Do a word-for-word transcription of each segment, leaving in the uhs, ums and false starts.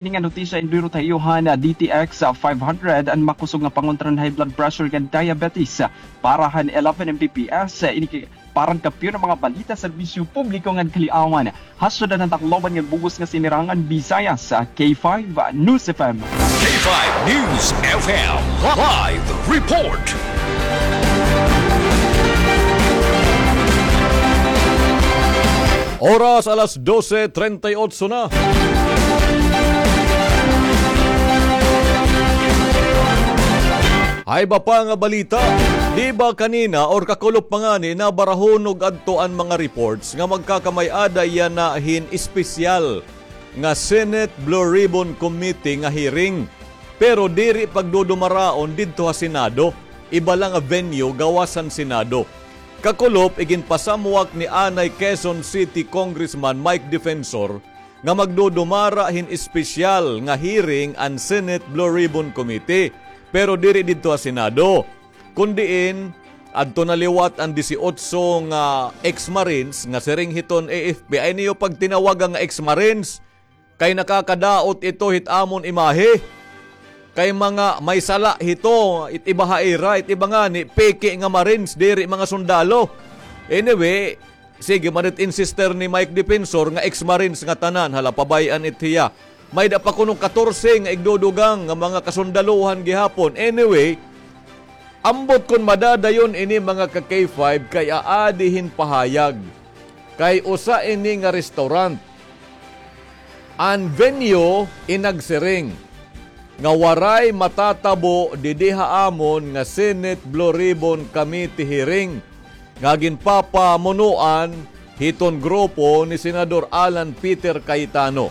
Ini nga notisya induyot ha iyo han D T X five hundred, an makusog nga pangontra han high blood pressure ngan diabetes. Para han eleven M B P S, ini ki-, para han kampiyon nga mga balita, serbisyo publiko ngan kaliawan. Ha syudad han Tacloban ngan bug-os nga sinirangan, Visayas, K five News F M. K five News F M live report. Oras alas dose treinta y ocho na. Ha iba pa nga balita, di ba kanina or kakulop pa ngani nabarahon og adto an mga reports nga magkakamay-ada yana hin espesyal nga Senate Blue Ribbon Committee nga hearing. Pero diri pagdudumaraon didto ha Senado, iba la nga venue gawas han Senado. Kakulop, iginpasamwak ni anay Quezon City Congressman Mike Defensor nga magdudumara hin espesyal nga hearing an Senate Blue Ribbon Committee, pero diri didto ha Senado. Kun diin, adto na liwat an disiotso nga ex-Marines nga siring hiton A F P, ay niyo pagtinawaga nga ex-Marines, kay nakakadaot ito hit amon imahe. Kay mga may sala hito, it iba ha ira, it iba ngani, peke nga Marines, diri mga sundalo. Anyway, sige man it insister ni Mike Defensor nga ex-Marines nga tanan, hala, pabay-an it hiya. May-ada pa kuno katorse nga igdudugang nga mga kasundalohan gihapon. Anyway, ambot kon madadayon ini, mga ka-K five, kay aadi hin pahayag kay usa ini nga restaurant. An venue in nagsiring nga waray matatabo didi ha amon nga Senate Blue Ribbon Committee hearing nga ginpapamunuan hiton grupo ni Senador Alan Peter Cayetano.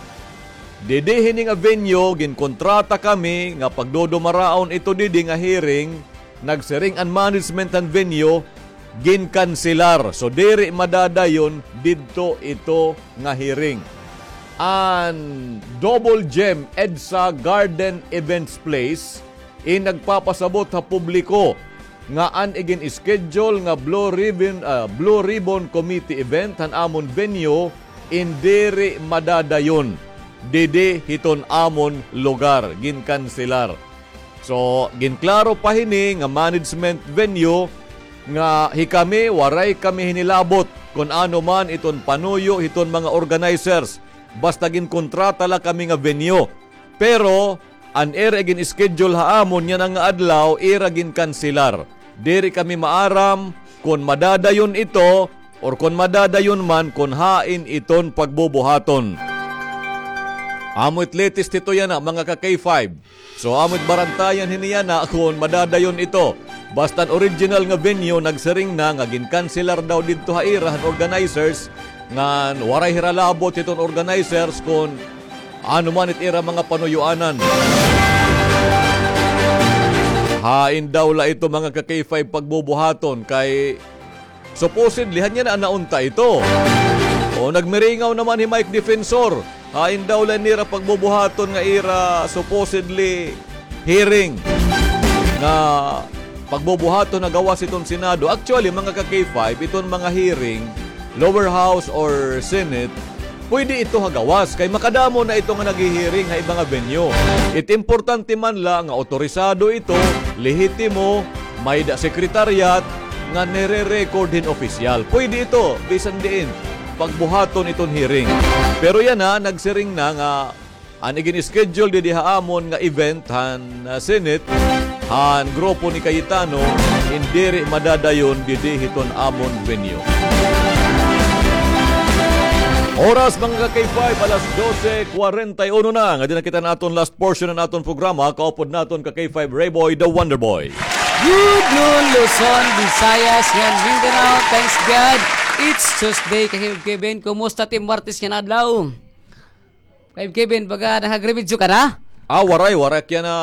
Didi hini nga venue, ginkontrata kami nga pagdudumaraon ito didi nga hearing, nagsiring an management han venue, ginkanselar. So, diri madadayon didto ito nga hearing. An Double Gem EDSA Garden Events Place in nagpapasabot ha publiko nga an igin-schedule nga Blue Ribbon, ah, Blue Ribbon Committee event han amon venue in diri madadayon didi hiton amon lugar, ginkanselar. So, ginklaro pa hini nga management venue nga hikami, waray kami hinilabot kon ano man iton panuyo hiton mga organizers. Basta ginkontrata la kami nga venue. Pero, an ira igin-schedule ha amon yana nga adlaw, ira ginkanselar. Diri kami maaram kon madadayon ito or kon madadayon man kon hain iton pagbubuhaton. Amo it latest hito yana, mga ka-K five. So, amo it barantayan hini yana kon madadayon ito. Basta an original nga venue, nagsiring na nga ginkanselar daw didto ha ira han organizers, ngan waray hira labot hiton organizers kon ano man it ira mga panuyoanan. Hain daw la ito, mga ka-K five, pagbubuhaton kay supposedly, han yana naunta ito. O, nagmiringaw naman hi Mike Defensor. Hain daw la nira pagbubuhaton nga ira supposedly hearing nga pagbubuhaton ha gawas hiton Senado. Actually, mga ka-K five, iton mga hearing, lower house or Senate, pwede ito ha gawas kay makadamo na ito nga naghi-hearing ha iba nga venue. It importante man la nga otorisado ito, lehitimo, may-ada secretariat, nga nire-record hin opisyal. Pwede ito, bisan diin, pagbuhaton iton hearing. Pero yana, nagsiring na nga an igin-schedule didi ha amon nga event han, ah, Senate, han grupo ni Cayetano, in diri madadayon didi hiton amon venue. Oras, mga ka-K five, alas dose kwarenta y uno na. Ngadi na kita han aton last portion han aton programa. Kaupod naton ka-K five, Rayboy, the Wonder Boy. Good noon, Luzon, Visayas, ngan Mindanao. Thanks God, it's Tuesday. Ka-K five Kevin, kumusta it im Martes nga adlaw? Ka-K five Kevin, baga nakagremedyo ka na? Ah, waray, waray. Kaya na,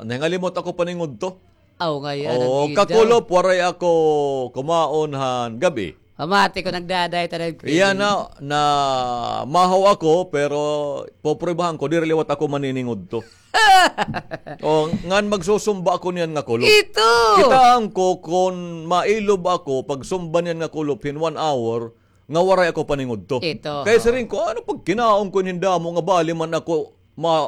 nangalimot ako paningudto. Aw, ngay-an. Oo, kakulop, waray ako kumaon han gab-i. Pamati ko nagdaday ta, Kevin. Iya na, namahaw ako, pero poprubahan ko, diri liwat ako maniningudto. O, ngan magsusumba ako niyan nga kulop. Ito! Kitaan ko kon mailob ako pagsumba niyan nga kulop hin one hour, nga waray ako paningudto. Ito. Kay siring ko, ano pagkinaon ko hin damo nga bali man ako Ma,